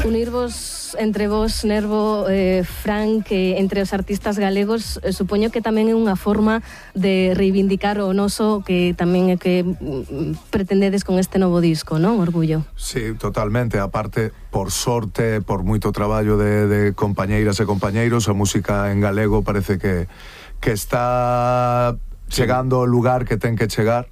Unirvos entre vos, Nervo, Frank, entre os artistas galegos, supoño que tamén é unha forma de reivindicar o noso, que tamén é que pretendedes con este novo disco, non? Orgullo. Sí, totalmente. Aparte, por sorte, por moito traballo de compañeiras e compañeiros, a música en galego parece que está chegando ao lugar que ten que chegar.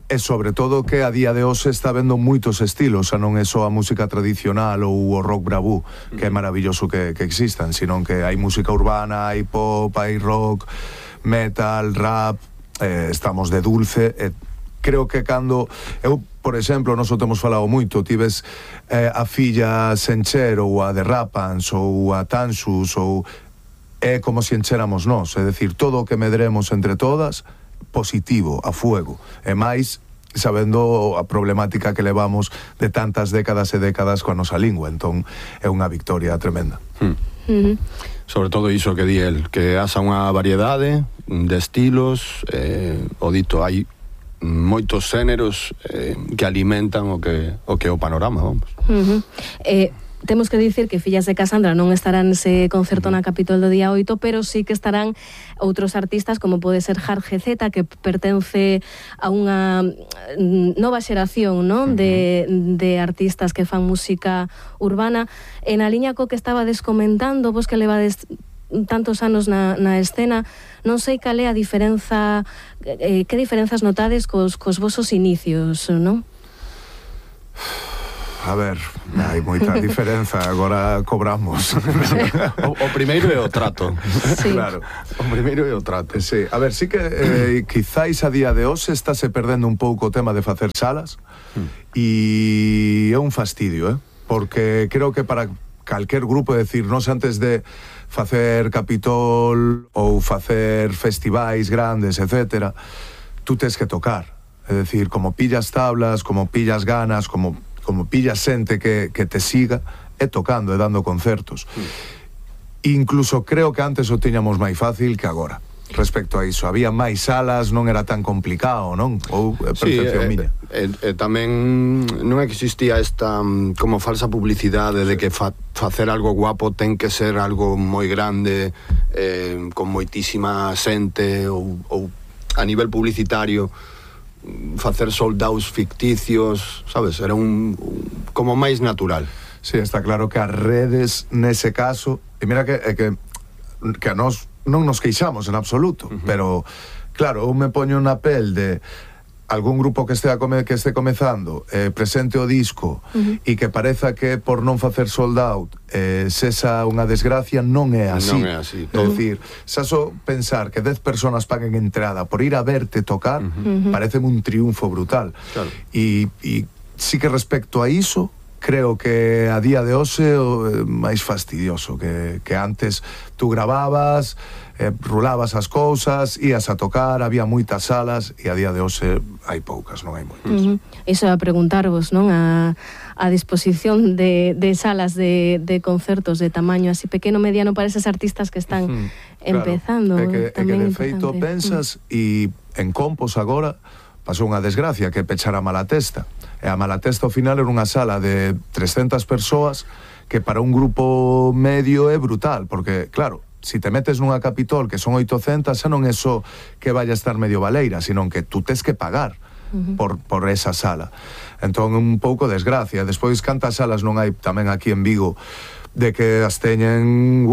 E sobre todo que a día de hoxe está vendo moitos estilos, xa non é só a música tradicional ou o rock bravú, que é maravilloso que existan, sino que hai música urbana, hai pop, hai rock, metal, rap, estamos de dulce, e creo que cando eu, por exemplo, nós o temos falado moito, tives a filla Sencher ou a de Rapans ou a Tansus, ou é como se enchéramos nós, é dicir, todo o que medremos entre todas positivo, a fuego, e máis sabendo a problemática que levamos de tantas décadas e décadas coa nosa lingua, entón é unha victoria tremenda. Sobre todo iso que di el, que haxa unha variedade de estilos, o dito, hai moitos xéneros que alimentan o que é o panorama, vamos. Temos que dicir que Fillas de Casandra non estarán nese concerto na Capitol do día 8, pero sí que estarán outros artistas, como pode ser Jarge Z, que pertence a unha nova xeración, non? De artistas que fan música urbana. En a liña co que estabades comentando, vos que levades tantos anos na escena, non sei cal é a diferenza, que diferenzas notades cos vosos inicios, non? A ver, hai moita diferenza, agora cobramos. O primeiro é o trato. Sí. Claro. O primeiro é o trato. Sí. A ver, sí que quizáis a día de hoxe estáse perdendo un pouco o tema de facer salas, e é un fastidio, porque creo que para calquer grupo, é dicir, nós antes de facer Capitol ou facer festivais grandes, etcétera, tú tes que tocar. É dicir, como pillas tablas, como pillas ganas, como pillas xente que te siga, é tocando, é dando concertos. Incluso creo que antes o tiñamos máis fácil que agora. Respecto a iso, había máis salas, non era tan complicado, non? Ou percepción miña. Tamén non existía esta como falsa publicidade de que facer algo guapo ten que ser algo moi grande, con moitísima xente, ou a nivel publicitario facer soldados ficticios, sabes? Era como máis natural. Sí, está claro que as redes nese caso, e mira que a nós non nos queixamos en absoluto, pero claro, eu me poño na pel de algún grupo que este comezando, presente o disco, e que pareza que por non facer sold out sexa unha desgracia, non é así. Non é así. É dicir, xa só pensar que 10 personas paguen entrada por ir a verte tocar, parece un triunfo brutal. Claro. E sí que respecto a iso, creo que a día de hoxe é máis fastidioso que antes tú grababas, rulabas as cousas, ías a tocar, había moitas salas, e a día de hoxe hai poucas, non hai moitas. Iso a preguntarvos, non? A disposición de salas de concertos de tamaño así pequeno, mediano, para eses artistas que están empezando. Claro, é que de feito pensas, e en Compos agora pasou unha desgracia, que pechara a Malatesta. E a Malatesta ao final era unha sala de 300 persoas, que para un grupo medio é brutal, porque, claro, si te metes nunha Capitol que son 800, xa non é só que vaya a estar medio baleira, sino que tú tes que pagar por esa sala. Entón, un pouco desgracia. Despois, cantas salas non hai tamén aquí en Vigo, de que as teñen,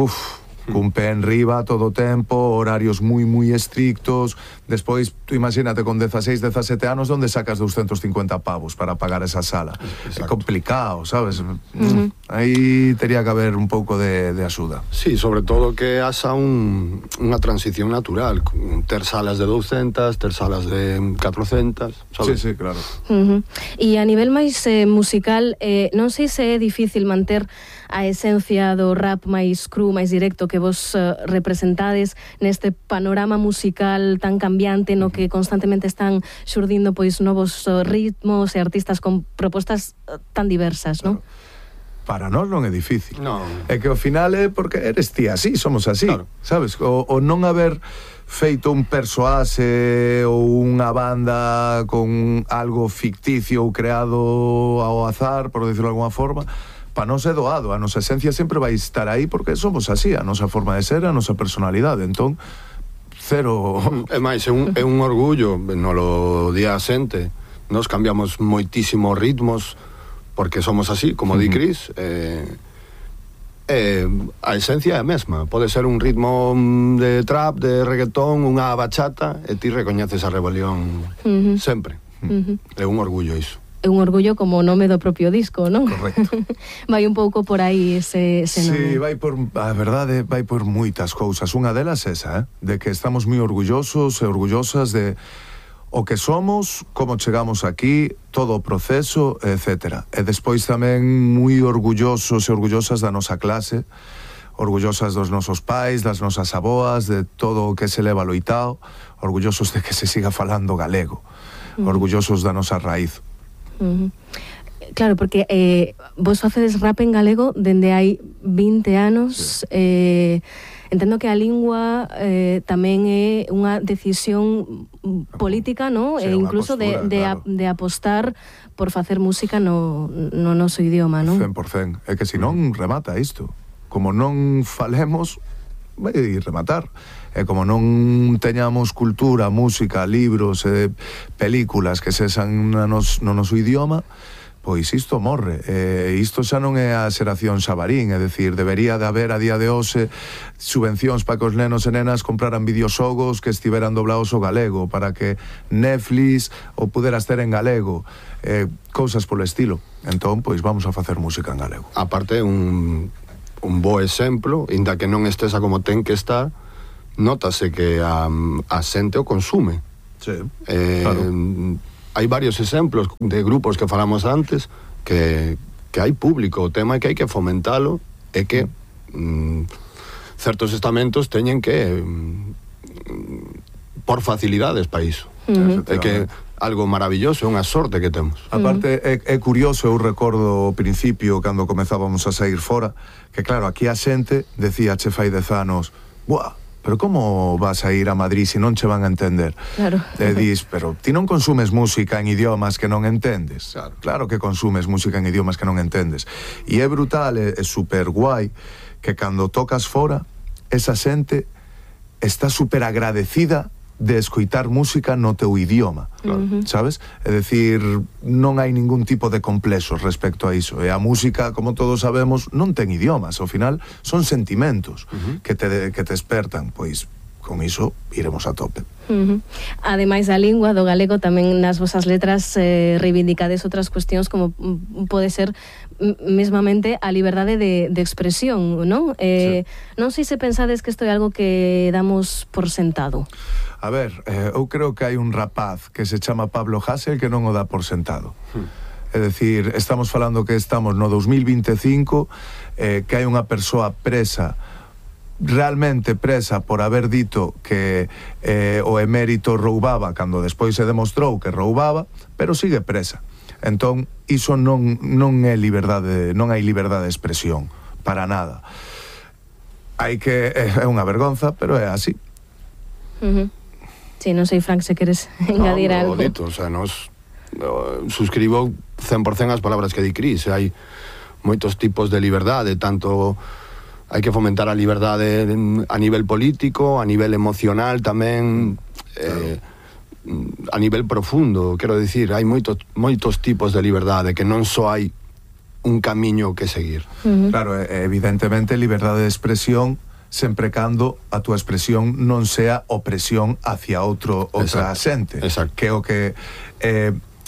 cun pé en riba todo o tempo, horarios moi estrictos. Despois, tú imagínate con 16, 17 anos, onde sacas 250 pavos para pagar esa sala? É complicado, sabes? Aí tería que haber un pouco de axuda. Sí, sobre todo que haxa unha transición natural, ter salas de 200, ter salas de 400, sabes? Sí, claro. E a nivel máis musical, non sei se é difícil manter a esencia do rap máis cru, máis directo que vos representades neste panorama musical tan cambiante, no que constantemente están xurdindo pois novos ritmos e artistas con propostas tan diversas, non? Para nós non é difícil. Non. É que ao final é porque eres ti así, somos así, claro. Sabes? O non haber feito un persoase ou unha banda con algo ficticio ou creado ao azar, por decirlo de alguna forma, para nós é doado, a nosa esencia sempre vai estar aí porque somos así, a nosa forma de ser, a nosa personalidade, entón cero. É máis, é un orgullo nolo día asente. Nos cambiamos moitísimos ritmos porque somos así, como di Cris. A esencia é a mesma. Pode ser un ritmo de trap, de reggaetón, unha bachata, e ti recoñeces a rebelión sempre. É un orgullo iso. É un orgullo como o nome do propio disco, non? Correcto. Vai un pouco por aí ese nome. Sí, a verdade, vai por moitas cousas. Unha delas esa, de que estamos moi orgullosos e orgullosas de o que somos, como chegamos aquí, todo o proceso, etc. E despois tamén moi orgullosos e orgullosas da nosa clase, orgullosas dos nosos pais, das nosas aboas, de todo o que se leva loitao, orgullosos de que se siga falando galego, orgullosos da nosa raíz. Claro, porque vos facedes rap en galego dende hai 20 anos. Sí. Entendo que a lingua tamén é unha decisión política, ¿no? Sí, e incluso postura, de apostar por facer música no noso idioma, non? 100%. É que senón remata isto. Como non falemos, vai rematar. E como non teñamos cultura, música, libros, películas que sexan no noso idioma, pois isto morre. Isto xa non é a xeración Xabarín, é dicir, debería de haber a día de hoxe subvencións para que os nenos e nenas compraran videoxogos que estiveran doblados ao galego, para que Netflix o puderas ter en galego, cousas polo estilo. Entón, pois vamos a facer música en galego. Aparte, un bo exemplo, inda que non estesa como ten que estar, nótase que a xente o consume. Sí, claro. Hai varios exemplos de grupos que falamos antes que hai público, o tema é que hai que fomentalo e que certos estamentos teñen que por facilidades para iso. É que algo maravilloso, é unha sorte que temos. Aparte, é curioso, eu recordo ao principio, cando comezábamos a sair fora, que claro, aquí a xente decía che fai 10 anos, buah, pero como vas a ir a Madrid se non che van a entender? Claro. E dis, pero ti non consumes música en idiomas que non entendes. Claro que consumes música en idiomas que non entendes. E é brutal, é super guai que cando tocas fora, esa xente está super agradecida de escoitar música no teu idioma, sabes? É dicir, non hai ningún tipo de complexos respecto a iso. E a música, como todos sabemos, non ten idiomas. Ao final, son sentimentos que te despertan. Pois, con iso, iremos a tope. Ademais da lingua, do galego, tamén nas vosas letras reivindicades outras cuestións como pode ser mesmamente a liberdade de expresión, non? Sí. Non sei se pensades que isto é algo que damos por sentado. A ver, eu creo que hai un rapaz que se chama Pablo Hasél que non o dá por sentado. É dicir, estamos falando que estamos no 2025, que hai unha persoa presa, realmente presa por haber dito que o emérito roubaba cando despois se demostrou que roubaba, pero sigue presa. Entón, iso non é liberdade, non hai liberdade de expresión, para nada. Hai que, é unha vergonza, pero é así. Sí, non sei, Frank, se queres engadir algo. Dito, o sea, suscribo 100% as palabras que di Cris. Hai moitos tipos de liberdade, tanto hai que fomentar a liberdade a nivel político, a nivel emocional tamén, a nivel profundo, quero dicir, hai moitos tipos de liberdade, que non só hai un camiño que seguir. Claro, evidentemente, liberdade de expresión sempre cando a túa expresión non sea opresión hacia outra xente. Que é o que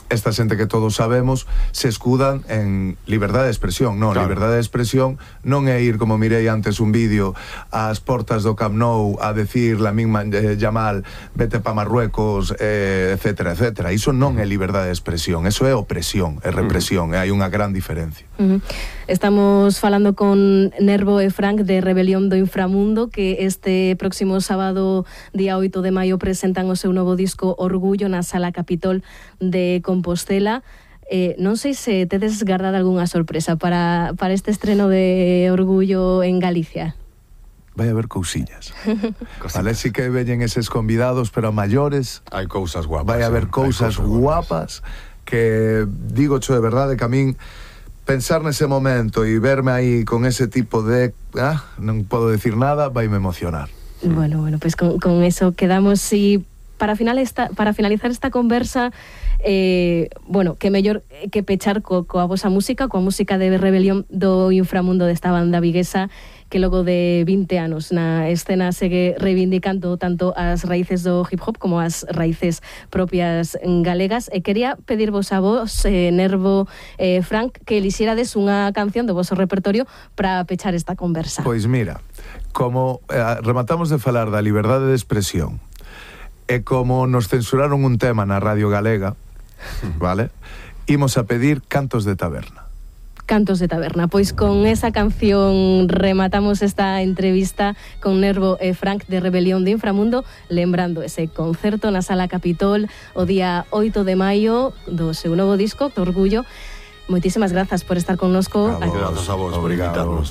esta xente que todos sabemos se escudan en liberdade de expresión. Non, claro. Liberdade de expresión non é ir, como mirei antes un vídeo, ás portas do Camp Nou a decir Lamine Yamal, vete pa Marruecos, etcétera, etcétera. Iso non é liberdade de expresión, eso é opresión, é represión, e hai unha gran diferencia. Estamos falando con Nervo e Frank de Rebelión do Inframundo, que este próximo sábado, día 8 de maio, presentan o seu novo disco Orgullo na Sala Capitol de Compostela. Non sei se tedes guardado algunha sorpresa para este estreno de Orgullo en Galicia. Vai haber cousiñas. Vale, si que veñen eses convidados, pero a maiores hai cousas guapas. Vai haber cousas guapas que, digo cho de verdade, que a min pensar nese momento e verme aí con ese tipo de... non podo decir nada, vaime emocionar. Bueno, pues con eso quedamos. Y para finalizar esta conversa, bueno, que mellor que pechar coa vosa música, coa música de Rebelión do Inframundo desta banda viguesa, que logo de 20 anos na escena segue reivindicando tanto as raíces do hip hop como as raíces propias galegas. E quería pedirvos a vos, Nervo, Frank, que elixerades unha canción do voso repertorio para pechar esta conversa. Pois mira, como rematamos de falar da liberdade de expresión e como nos censuraron un tema na Radio Galega, vale? Imos a pedir Cantos de Taberna. Cantos de Taberna. Pois con esa canción rematamos esta entrevista con Nervo e Frank de Rebelión de Inframundo, lembrando ese concerto na Sala Capitol o día 8 de maio do seu novo disco, Orgullo. Moitísimas grazas por estar connosco. Grazas a vos por invitarnos.